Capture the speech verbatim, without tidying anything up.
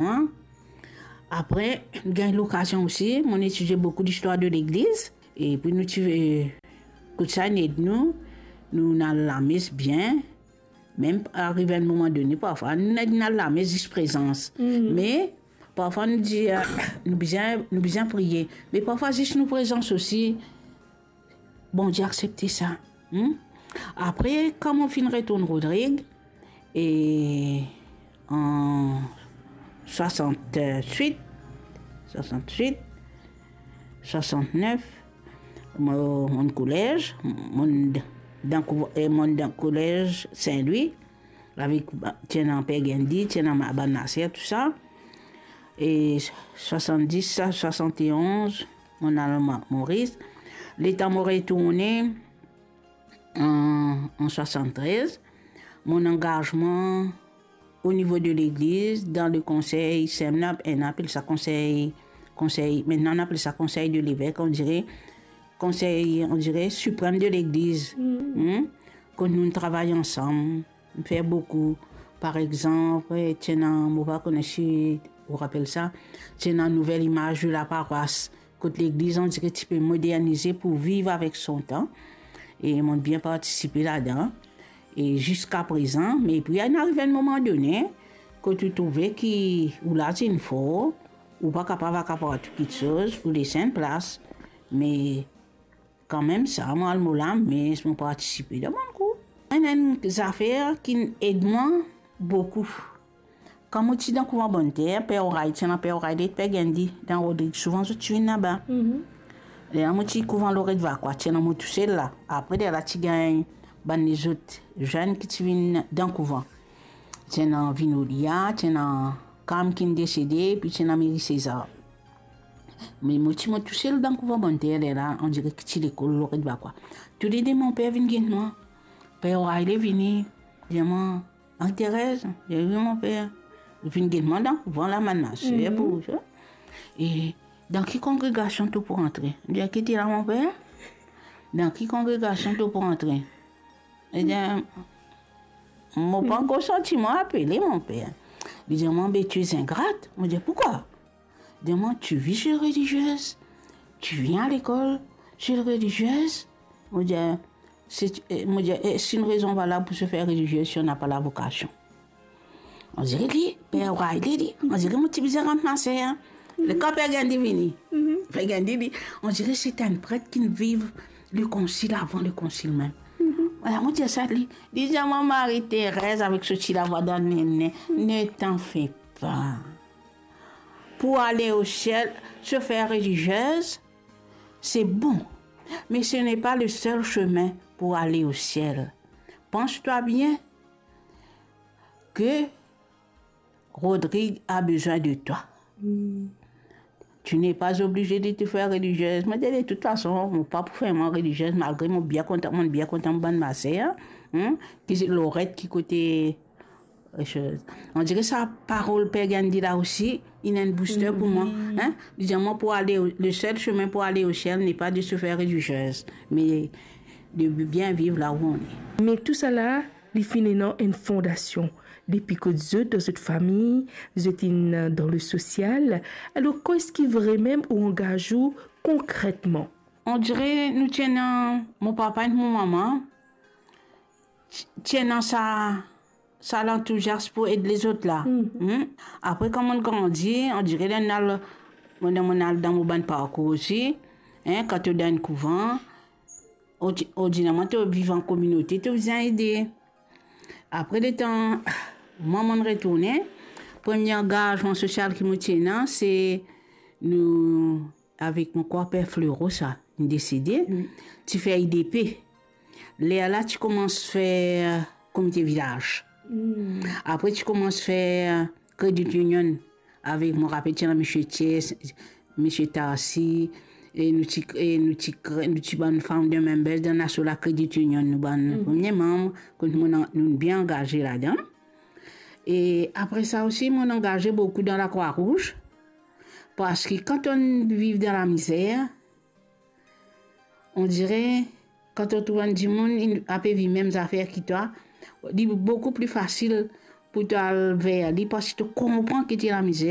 Hein? Apre, gagn lokazion osi, mo etidie boukou listwar de legliz. Epi nou ti, eh, kout sa inn ed nou, nou al lames bien. Mem ariv enn moman done, parfwa nou inn al lames zis prezans. Me parfwa nou dir, eh, nou bizin, nou bizin priye. Me parfwa zis nou prezans osi, Bondie aksepte sa. Hmm? Apre, kan mo finn retourn Rodrig, e an swasant-wit, swasant-wit, swasant-nef, mo, mo kolez, mo dan kouv-, e mo dan kolez Sin Lwi, avek ba-, ti ena Per Gandhi, ti ena ma-, bann maser, tou sa. E swasanndis, sa, swasanteonz, mo al Ma-, Moris. Letan mo retourne an, an swasann-trez, mo angazman o nivo de legliz, dan le konsey, sa nou apel sa konsey, konsey, mintnan nou apel sa konsey de levek, on dirait konsey, on dirait siprem de legliz. Hmm? Kot nou travay ansam, fer boukou. Par exanp, ti ena, mo pa kone si ou rapel sa, ti ena Nouvelle Image de la Paroisse, kot legliz, on dirait, ti pe modernize pou viv avek son tan. E mo bien partisipe ladan. E ziska prezan, me epi inn ariv enn moman done, kot ou trouve ki ou la ti inn for, ou pa kapav akapar tou kiksoz, ou les enn plas. Me kanmem sa, mo al mo lames, mo partisipe dan bann kou. Enn, enn zafer ki ed mwa boukou. Kan mo ti dan kouvan Bannter, Per Oray, ti ena Per Oray, li ek Per Gandhi, dan Rodrig, souvan zot ti vinn laba. Lerla mo ti kouvan Loret Vakwa, ti ena mo tousel la. Apre lerla ti gagn bann lezot zenn ki ti vinn dan kouvan. Ti ena Vinolia, ti ena Kam ki inn desede, epi ti ena Meri Sezar. Me mo ti mo tousel dan kouvan Bannter lerla, on dirait ki ti lekol Loret Vakwa. Toulede mo per vinn get mwa. Per Oray vini, dir mwa, "Marie-Thérèse?" Li dir, "Wi, mo per." Li vinn get mwa dan kouvan la, bann maser pou sa. "E dan ki kongregasion to pou antre?" Li dir, "Ki dir la, mo per? Dan ki kongregasion to pou antre?" Li dir, mo pa ankor santi mwa apele, mo per. Li dir mwa, "Mais tu es ingrate." Mo dir, "Pourquoi?" Li dir mwa, "Tu vis chez les religieuses, tu viens à l'école chez les religieuses." Mo dir, "C'est, eh," mo dir, "eh, c'est une raison valable pour se faire religieuse si on n'a pas la vocation." On dirait li, Per Oray li, on dirait mo ti bizin rant maser, hein. Letan Per Gandhi vini, Per Gandhi li, on dirait c'est un prêtre qui viv le concile avant le concile même. Voilà, mo dir sa li. Li dir mwa, "Marie-Thérèse," avek so ti lavwa dan nene, "ne t'en fais pas. Pour aller au ciel, se faire religieuse, c'est bon, mais ce n'est pas le seul chemin pour aller au ciel. Pense-toi bien que Rodrig a besoin de toi. Tu n'es pas obligée de te faire religieuse." Mo dir, "De toute façon, mo pa pou fer mwa religieuses, malgre mo bien kontan, mo bien kontan mo bann maser, hein, ki se Loret, ki kote, euh, chose." On dirait sa parol Per Gandhi la osi, inn enn booster pou mwa, hein. Li dir mwa, "Pour aller au, le seul chemin pour aller au ciel n'est pas de se faire religieuse, mais de bien vivre là où on est." Me tousala, li finn ena enn fondasion. Depi kot zot, dan zot fami, zot inn dan le sosial. Alor, kan eski vremem ou angaz ou konkretman? On dirait nou ti ena, mo papa ek mo mama, ti, ti ena sa, sa lantouziasm pou ed lezot la. Hmm. Apre, kan mo'nn grandi, on dirait ler mo'nn al, mo'nn, mo'nn al dan mo bann parkour osi, hein, kan to dan enn kouvan, ordi-, ordinarman, to viv an kominote, to bizin ede. Apre letan mwa mo'nn retourne, premie angazman sosial ki mo ti ena, se nou, avek mo krwar Per Fleuro sa, inn desede, ti fer I D P. Lerla ti koumans fer komite vilaz. Apre ti koumans fer Credit Union. Avek, mo rapel, ti ena Misie Thiers, Misie Tarsi, e nou ti, e nou ti kre-, nou ti bann founder members dan aso la Credit Union, nou bann premie manm, kot nou, nou bien angaze ladan. E apre sa osi, mo'nn angaze boukou dan Lakrwa Rouz, parski kan to'nn viv dan lamizer, on dirait, kan to trouv enn dimoun, inn, ape viv mem zafer ki twa, li boukou pli fasil pou to al ver li, parski to konpran ki ti lamizer.